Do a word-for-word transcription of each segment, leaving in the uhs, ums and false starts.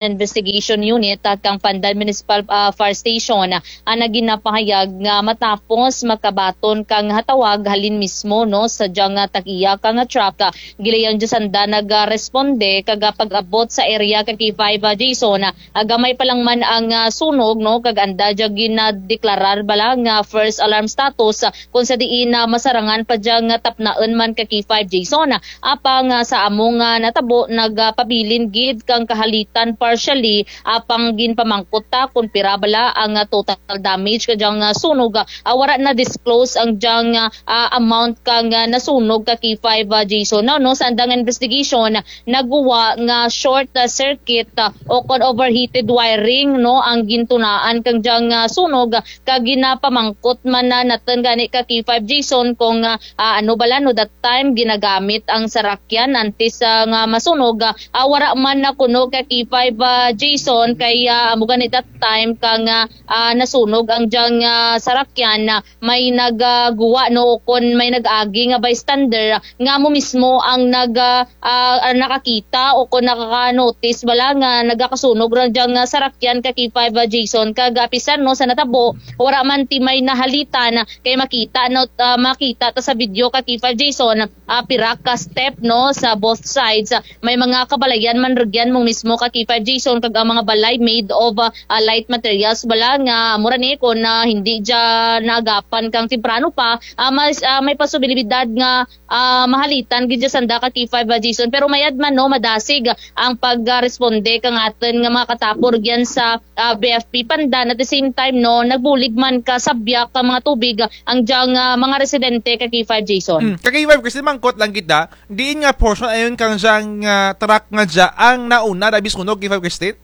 Investigation Unit, ah, kang Pandan Municipal, ah, Fire Station, ah, ang ginapahayag nga matapos makabaton kang hatawag halin mismo, no, sa dyang, ah, tag-iya kang, ah, truck, ah, gilayon dya sanda nagaresponde kag, ah, pag-abot sa area ka K five, ah, Jason, ah, gamay pa lang man ang, ah, sunog, no, kag anda dya ginadeklarar bala nga first alarm status, ah, kon sa diin nga masarangan pa dya nga tapnaen man ka K five Jason. Apang, ah, sa amo nga natabo, nagapabilin gid kang kahalitan partially, apang ginpamangkot ta kon pira bala ang, ah, total damage ka dyang, ah, sunog. Ah, wara na-disclose ang dyang, ah, ah, amount kang, ah, nasunog ka K five, ah, Jason. No, no, sa andang investigation, naguwa nga short, ah, circuit, ah, o kon overheated wiring, no, ang gintunaan kang dyang, ah, sunog, ah, kag ginapamangkot man na natun gani ka K five Jason kon, ah, ah, ano bala, no, that time ginagamit ang sarakyan antes, ah, nga masunog, ah, ah, wara man na kuno ka K five, ah, Jason, kay, ah, amo gani that time kang, ah, ah, nasunog ang dyang, ah, sarakyan, ah, may nag, ah, guwa, no, o kon may nag-agi nga bystander, ah, nga amo mismo ang nag, ah, ah, ah, nakakita o kon nakaka-notice bala nga nagakasunog run dyang, ah, sarakyan ka K five, ah, Jason, kag, ah, apisar, no, sa natabo, wara man ti may nahalitan, ah, kay makita, no, ah, makita ta sa video ka K five Jason, ah, pira ka step, no, sa both sides, ah, may mga kabalayan man rugyan mo mismo ka K five Jason, kag ang mga balay made of, ah, ah, light materials bala nga, mura ni kon, ah, hindi dya naagapan kang temprano pa, ah, mas, ah, may posibilidad nga, ah, mahalitan gid dya sanda ka K five, ah, Jason. Pero mayad man, no, madasig ang pagresponde kang atun nga mga katapo rugyan sa, ah, B F P Pandan. At the same time, no, nagbulig man ka sabyak ka mga tubig ang dyang, ah, mga residente ka K five Jason. Hmm, ka K five Christine, mangkot lang kita, diin nga portion ayon kang dyang, ah, truck nga dya ang nauna dabi sunog, K five Christine?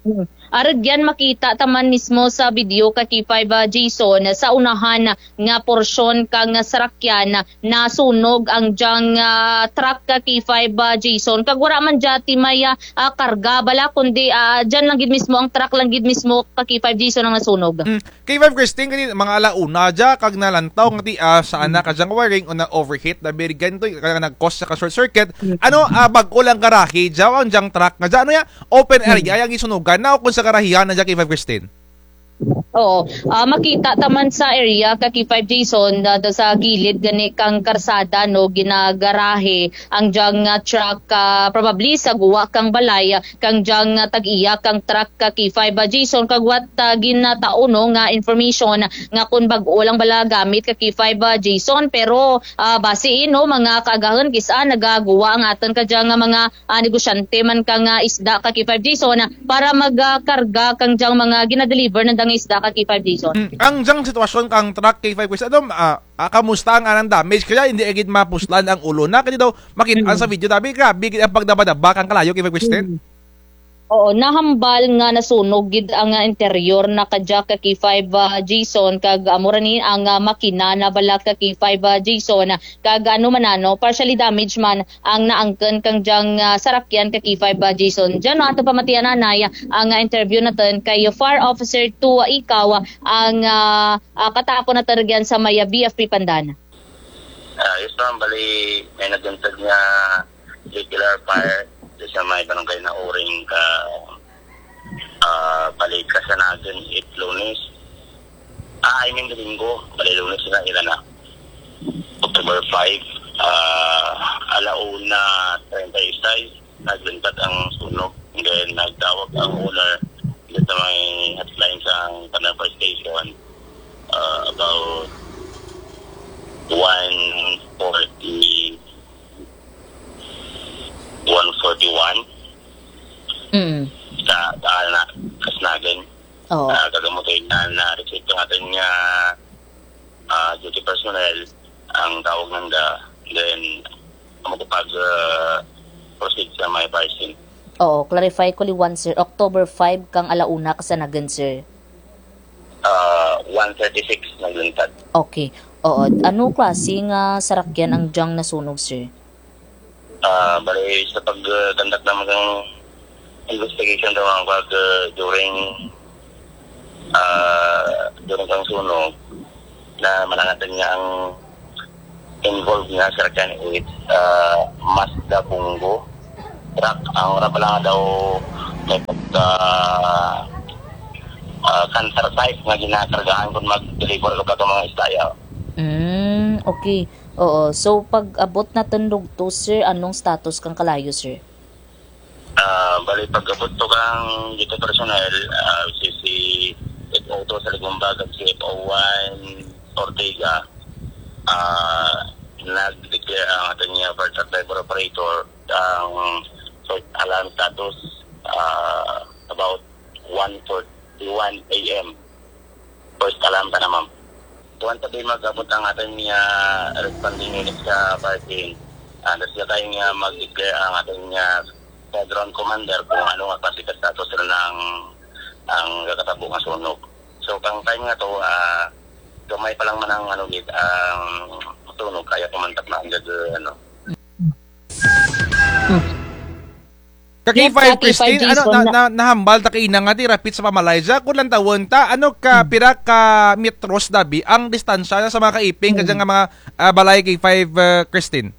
Hmm. Arugyan makita ta man mismo sa video ka K five, ah, Jason, sa unahan nga porsyon kang sarakyan nasunog ang dyang, ah, truck ka K five, ah, Jason. Kag wara man dya ti may, ah, ah, karga bala, kundi, ah, dyan lang gid mismo, ang truck lang gid mismo ka K five Jason ang nasunog. Hmm. K five Christine, kani mga ala una dya, kag nalantaw nga ti, ah, sa ana ka dyang wiring o na-overheat, dabi rugyan to, kag nag-cause sa ka short circuit. Ano, ah, bag-o lang garahe dya, ang dyang truck nga dya, ano ya, open area, ang gisunugan na, o kon sa garahehan na dya, K five Christine? Oo. Ah, makita ta man sa area ka K five Jason, da, da sa gilid gani kang karsada, no, ginagarahe ang dyang, ah, truck, ah, probably sa guwa kang balay, ah, kang dyang, ah, tag-iya kang truck ka K five, ah, Jason, kag what, ah, ginatao, no, nga information, ah, nga kon bag-o lang bala gamit ka K five, ah, Jason, pero, ah, base, eh, no, mga kaagahun, kis-a nagaguwa ang atun ka dyang, ah, mga, ah, negosyante man kang, ah, isda ka K five Jason, ah, para mag, ah, karga kang dyang mga ginadeliver nanda nga isda ka K five Jason. Mm, ang dyang sitwasyon kang truck K five Jason, ano, ah, ah, kamusta ang anang damage? Kaya hindi agad mapuslan ang ulo na. Kaya daw, makita sa video, dabi, grabe, gid ang pagdabadaba kang kalayo, K five Christine. Mm. Oo, nahambal nga nasunog gid ang, ah, interior na kadya ka K five, ah, Jason, kag, ah, mura ni ang, ah, makina na bala ka K five, ah, Jason, kag ano man ano, partially damage man ang naangkun kang dyang, ah, sarakyan ka K five, ah, Jason. Dyan, no, atun pamatian anay ang, ah, interview natun kay Fire Officer two, ah, Ikaw, ah, ang, ah, ah, katapo natun rugyan sa may, ah, B F P Pandan. Ah, yes, ma'am. Bali, may naguntod nga regular fire sa may barangay na Uring ka, ah, bali, Kasanagan, it Lunes. Ah, I mean, Domingo. Bali, Lunes na, ila na. October five, ah, ala una treinta y seis, nagluntad ang sunog. And then, nagtawag ang owner dito sa may hotline sa Pandan Fire Station, ah, about one forty, one forty-one. Mm. Sa, sa, na, Kasnagan. Oo. Ah, kag amo to na, na-receive ang atun nga, ah, duty personnel, ang tawag nanda, then, amo ko pag, ah, proceed sa may fire scene. Oo, clarify ko liwan, sir. October five kang ala una Kasanagan, sir. Ah, one thirty-six nagluntad. Okay. Oo. Ano klase nga sarakyan ang dyang nasunog, sir? Ah, bali, sa pag, ah, conduct namun kang investigation daw ang pag, ah, during, ah, during kang sunog, na manangatun nga ang involved nga sarakyan with, ah, Mazda Bongo truck, ang wara pa lang daw May pagka, ah, cancer site nga ginakargaan kon mag-deliver ka pa ka mga isda, ya. Mm, okay. Oo. So, pag-abot natun rugto, sir, anong status kang kalayo, sir? Ah, bali, pag-abot to kang dito personnel, ah, si, si F O to sa Legumba, kag si F O one Ortega, ah, nag-declare ang atun nga first arrival operator ang first alarm status, ah, about one forty-one A M. First alarm tana, ma'am. Kuwan ta bi mag-abot ang atun nga responding unit sa parking. Ah, nanda sila kay nga mag-declare ang atun nga squadron commander kon ano nga klase ka status run ang, ang nakatabo nga sunog. So, kang time nga to, ah, gamay pa lang man ang, ano, gid, ang sunog, kaya pa man ta ma-under, ano. Ka K five, Christine, ano, na, na, nahambal ta kaina nga ti rapit sa pamalay dya, kon lantawun ta, ano ka, pira ka metros dabi ang distansya sa mga kaiping kadya nga mga, ah, balay, K five, ah, Christine?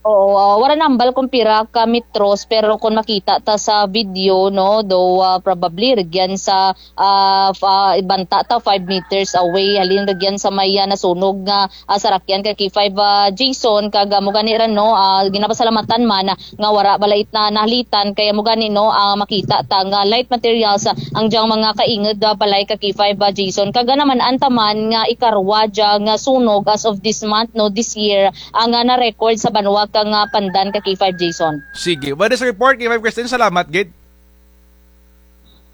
Oo, ah, wara nahambal kon pira ka metros, pero kon makita ta sa video, no, daw, ah, probably rugyan sa ah, fa-, banta ta five meters away, halin rugyan sa may, ah, nasunog nga, ah, sarakyan ka K five, ah, Jason, kag, ah, amo gani run, no, ah, ginapasalamatan man nga wara bala it na nahalitan, kay amo gani, no, ah, makita ta nga light materials, ah, ang dyang mga kaingud, ah, balay ka K five, ah, Jason, kag, ah, naman-an ta man nga ikarwa dya nga sunog as of this month, no, this year, ang, ah, na-record sa banwa kang, ah, Pandan ka K five, Jason. Sige, what is report, K five Christine? Salamat gid.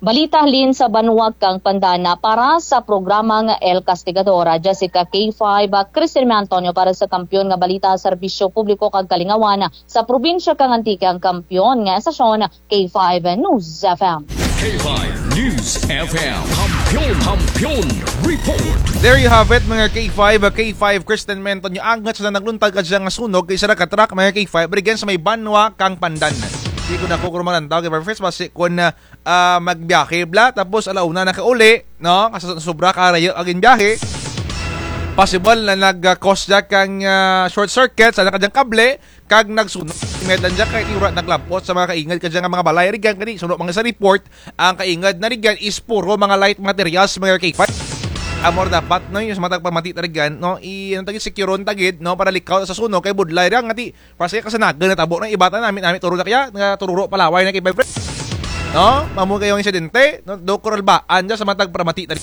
Balita halin sa banwa kang Pandan. Para sa programang El Castigador, Jessica, K five, Christine Antonio para sa Kampiyon nga Balita, Serbisyo Publiko kag Kalingawan sa probinsya kang Antique, ang kampiyon nga estasyon, K five News F M. K five News F M. Kampiyon, Kampiyon Report. There you have it, mga K five, K five Christine Antonio. Angat sa nagluntad kadya nga sunog kay sara ka truck, mga K five, rugyan sa may banwa kang Pandan. Di ko na ko kurumalantaw, K five Fresh, basi kon, ah, ah, magbiyahe bala, tapos ala una nakauli, no? Kasi sobra ka rayo ang biyahe. Possible na nag, ah, cause dya kang, ah, short circuit sa kadyang kable, kag nagsunog. Medan dya kay wara naglampot sa mga kaingud kadya nga mga balay, rugyan kani, suno man sa report, ang kaingud na rugyan is puro mga light materials, mga K five. Amo ra dapat, no, yung sa matag pamati ta rugyan, no, i-, ano ta gid, secure-on ta gid, no, para likaw sa sunog, kay budlay ra nga ti, Para sa kasanagan natabo na iba ta nami, nami turo na kaya, nga tururo palaway na kay Bebres. No? Amo gani ang insidente, no? Dokor Albaan dya sa matag pamati ta.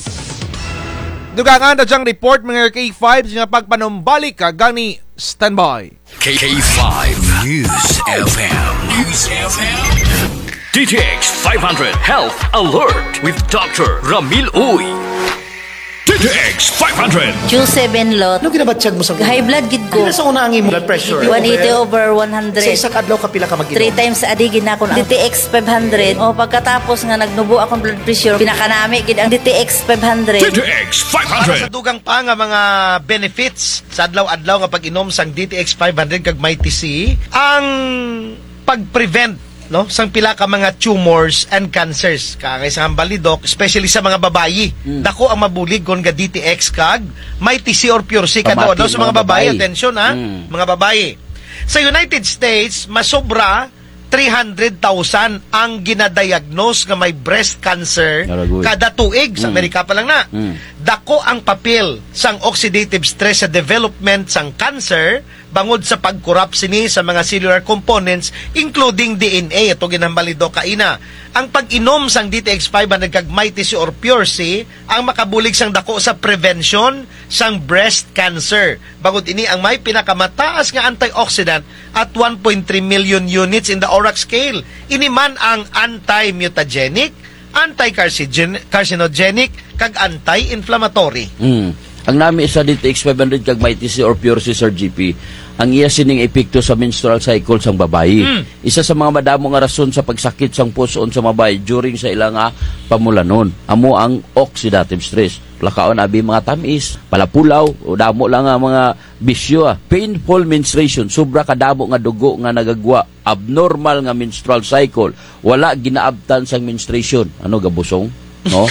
Dugangan ta dyang report, mga K five, sa pagpanumbalik ka gani, standby. K five News F M. News F M. D T X five hundred Health Alert with Doctor Ramil Uy. D T X five hundred. Q seven lot. Ano ginabatyag mo sa High blood gid ko. Ano sa una ang imo blood pressure? One eighty over one hundred. Sa isa ka adlaw, kapila ka mag-inom? Three times a day gid na akong D T X five hundred. O, pagkatapos nga nagnubo akong blood pressure, pinakanami gid ang D T X five hundred. D T X five hundred. Para sa dugang pa nga mga benefits sa adlaw-adlaw nga pag-inom sang D T X five hundred kag Mighty C, ang pag-prevent, no, sang pila ka mga tumors and cancers. Kaangay sa hambal ni Doc, especially sa mga babayi. Mm. Dako ang mabulig kon ga-D T X kag Mighty C or Pure C. Kada adlaw sa mga babayi, atensyon, ha? Mm. Mga babayi. Sa United States, masobra three hundred thousand ang ginadiagnose nga may breast cancer kada tuig. Sa Amerika pa lang na. Mm. Dako ang papel sang oxidative stress sa development sang cancer, bangod sa pag-corrupt sini sa mga cellular components, including D N A, ato ginhambal ni Doc kaina. Ang pag-inom sang D T X five hundred kag Mighty C or Pure C ang makabulig sang dako sa prevention sang breast cancer. Bangod ini ang may pinakamataas nga antioxidant at one point three million units in the ORAC scale. Ini man ang anti-mutagenic, anti-carcinogen-, carcinogenic, kag anti-inflammatory. Mm. Ang nami sa D T X five hundred kag Mighty C or Pure C, Sir G P, ang iya sining epekto sa menstrual cycle sang babayi. Mm. Isa sa mga madamo nga rason sa pagsakit sang pus-on sa babayi during sa ila nga pamulanon, amo ang oxidative stress. Lakaon abi mga tam-is, palapulaw, o damo lang nga mga bisyo, ah. Painful menstruation, sobra kadamo nga dugo nga nagagwa, abnormal nga menstrual cycle, wala ginaabtan sang menstruation. Ano, gabusong? No?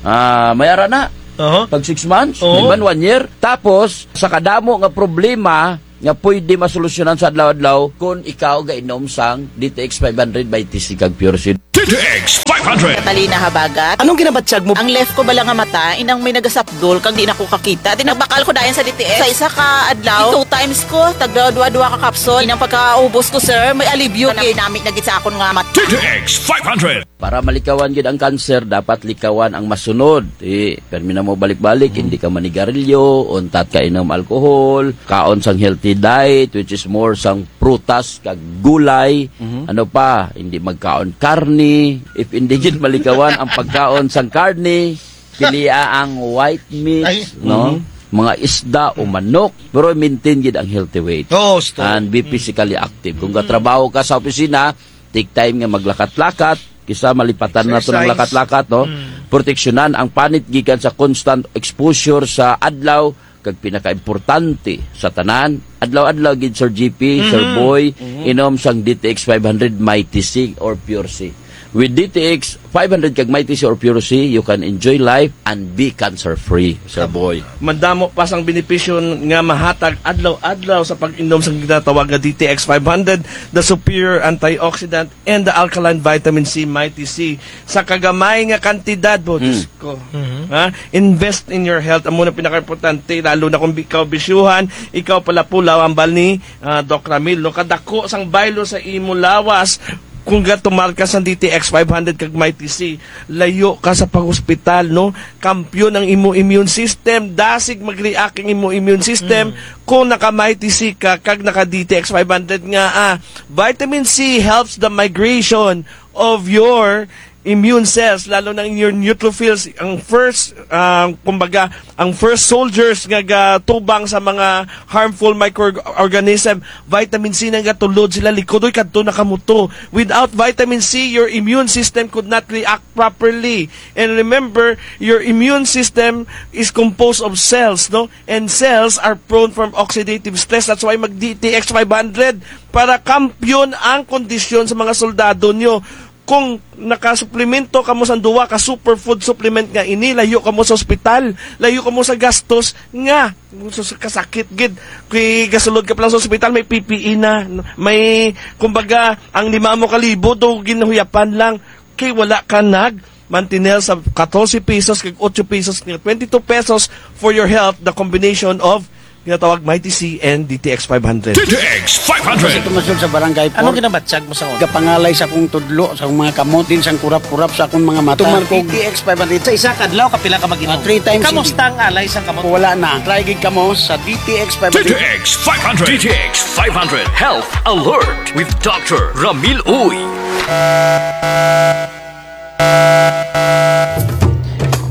Ah, may ara na. Aha. Tag six months, Oo. di man one year. Tapos, sa kadamo nga problema nga pwede masolusyonan sa adlaw-adlaw kon ikaw gainom sang D T X five hundred Mighty C kag Pure C. D T X five hundred. Catalina Habagat. Anong ginabatyag mo? Ang left ko bala nga mata, inang may nagasapdol, kag di na ko kakita. Di nagbakal ko dayon sa D T X. Sa isa ka adlaw, two times ko, tagda duwa-duwa ka capsule. Inang pagkaubos ko, sir, may alibyo gid. Nami-nami na gid sa akon nga mata. D T X five hundred. Para malikawan gid ang kanser, dapat likawan ang masunod. Ti, permi namo balik-balik, Mhm. hindi ka manigarilyo, untat ka inom alcohol, kaon sang healthy diet, which is more sang prutas kag gulay. Mhm. Ano pa, hindi magkaon karne. If hindi gid malikawan ang pagkaon sang karne, pilia ang white meats, Ay. no? Mhm. Mga isda o manok, pero maintain gid ang healthy weight. Oo, gusto. And be Mm. physically active. Kung Mm. gatrabaho ka sa opisina, take time nga maglakat-lakat, kisa malipatan naton ang Exercise. lakat-lakat, no? Mm. Proteksyonan ang panit gikan sa constant exposure sa adlaw, kag pinakaimportante sa tanan, adlaw-adlaw gid, Sir G P, Sir Mhm. Boy, Mhm. inom sang D T X five hundred Mighty C or Pure C. With D T X five hundred kag Mighty C or Pure C, you can enjoy life and be cancer-free, Sir Boy. Madamo pa sang benepisyo nga mahatag adlaw-adlaw sa pag-inom sang ginatawag nga D T X five hundred, the superior antioxidant and the alkaline vitamin C, Mighty C. Sa kagamay nga kantidad, bo, Hmm. Diyos ko. Mhm. Ha? Invest in your health. Amo na pinakaimportante, lalo na kung ikaw bisyuhan, ikaw pala pulaw, hambal ni, ah, Doc Ramil, no? Kadako sang baylo sa imo lawas, kung gatumar ka sa D T X five hundred kag Mighty C, layo ka sa pag-hospital, no? Kampiyon ang imo immune system, dasig mag-react ang imo immune system, Mm. kung naka-Mighty C ka, kag naka-D T X five hundred nga, ah, vitamin C helps the migration of your immune cells, lalo na in your neutrophils, ang first, ah, kumbaga, ang first soldiers nga gatubang sa mga harmful microorganism, vitamin C na gatulod sila, likudoy kadto na kamo to. Without vitamin C, your immune system could not react properly. And remember, your immune system is composed of cells, no? And cells are prone from oxidative stress. That's why mag-D T X five hundred para kampiyon ang kondisyon sa mga soldado nyo. Kung nakasuplemento kamo sa duwa ka superfood supplement nga ini, layo kamo sa ospital, layo kamo sa gastos nga, sa, sa kasakit gid. Kay gasulod ka pa lang sa ospital, may P P E na, may, kumbaga, ang lima mo ka libo, do ginhuyapan lang. Kay wala ka nag mantinel sa katorse pesos kag otso pesos nga twenty-two pesos for your health, the combination of ginatawag Mighty C and D T X five hundred. D T X five hundred. Sa tumasod sa barangay Anong four, ginabatyag mo sa una? Gapangalay sa akong tudlo, sa akong mga kamot, din sang kurap-kurap sa akong mga mata. Tumar ko D T X five hundred. Sa isa ka adlaw, kapila ka mag-inom? Ah, three times a day. Kamusta ang alay sa kamot? Wala na. Try gid kamo sa D T X five hundred. D T X five hundred. D T X five hundred Health Alert with Doctor Ramil Uy.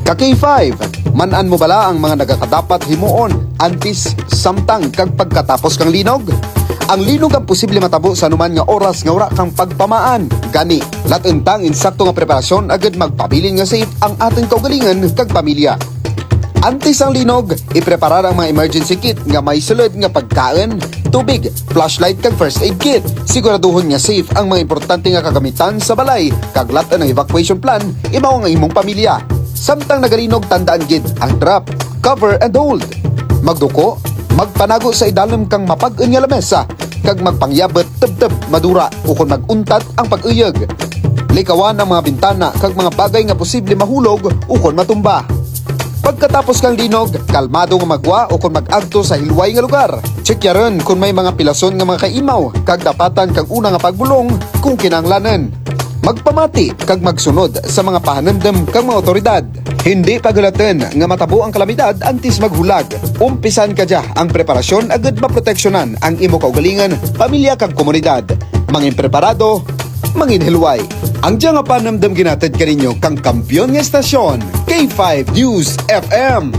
Ka K five, man-an mo bala ang mga nagakadapat himuon antes, samtang, kag pagkatapos kang linog? Ang linog ang posible matabo sa anuman nga oras nga wara kang pagpamaan. Gani, lat-en ta ang insakto nga preparasyon agud magpabilin nga safe ang atun kaugalingon kag pamilya. Antes ang linog, ipreparar ang mga emergency kit nga may sulud nga pagkaun, tubig, flashlight kag first aid kit. Siguraduhon nga safe ang mga importante nga kagamitan sa balay, kag lat-en ang evacuation plan, imaw ang imong pamilya. Samtang nagalinog, tandaan gid ang drop, cover and hold. Magduko, magpanago sa idalum kang mapag-un nga lamesa, kag magpangyabut tubtub madura ukon mag-untat ang pag-uyog. Likawan ang mga bintana kag mga bagay nga posible mahulog ukon matumba. Pagkatapos kang linog, kalmado nga maggwa ukon mag-agto sa hilway nga lugar. Tsikyaron kon may mga pilason nga mga kaimaw, kag dapatan kang una nga pagbulong kon kinahanglanun. Magpamati kag magsunod sa mga pahanumdum kang mga awtoridad. Hindi paghulatun nga matabo ang kalamidad antes maghulag. Umpisan kadya ang preparasyon agud maproteksyonan ang imo kaugalingon, pamilya kag komunidad. Mangin preparado, mangin hilway. Ang dya nga panumdum ginahatid kaninyo kang kampiyon nga estasyon, K five News F M.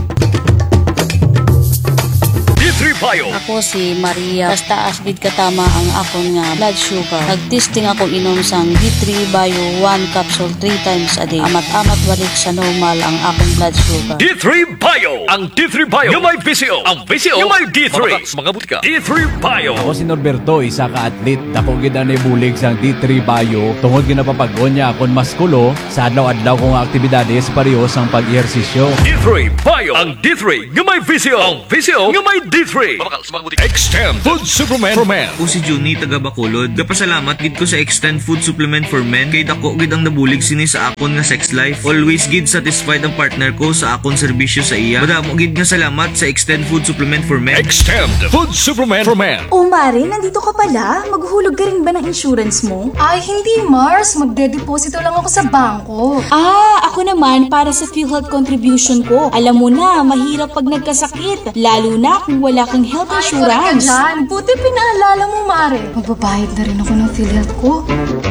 D three Bio. Ako si Maria. Taas-taas gid katama ang akon nga blood sugar. Nag-testing ako inom sang D three Bio, one capsule three times a day. Amat-amat balik sa normal ang akon blood sugar. D three Bio. Ang D three Bio nga may V C O. Ang V C O nga may D three. Mabakal sa mga butika. D three Bio. Ako si Norberto, isa ka athlete. Dako gid ang naibulig sang D three Bio. Tungod ginapapag-on niya akon muskulo sa adlaw-adlaw ko nga aktibidades, pareho sang pag-ehersisyo. D three Bio. Ang D three nga may V C O. Ang V C O nga may D three. Mabakal sa mga butika. Extend Food Supplement for Men. Ako si Junie, taga Bacolod. Gapasalamat gid ko sa Extend Food Supplement for Men kay dako gid ang nabulig sini sa akon nga sex life. Always gid satisfied ang partner ko sa akon serbisyo sa iya. Madamo gid nga salamat sa Extend Food Supplement for Men. Extend Food Supplement for Men. Oh, Mare, nandito ka pala? Maghuhulog ka rin ba ng insurance mo? Ay, hindi, Mars. Magdedeposito lang ako sa bangko. Ah, ako naman para sa PhilHealth contribution ko. Alam mo na, mahirap pag nagkasakit, lalo na kung wala kang health insurance. Ay, correct ka dyan. Buti pinaalala mo, Mare. Magbabayad na rin ako ng PhilHealth ko.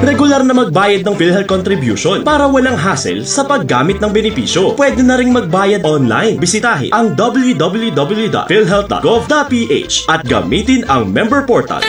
Regular na magbayad ng PhilHealth contribution para walang hassle sa paggamit ng benepisyo. Pwede na ring magbayad online. Bisitahin ang w w w dot philhealth dot gov dot p h at gamitin ang member portal.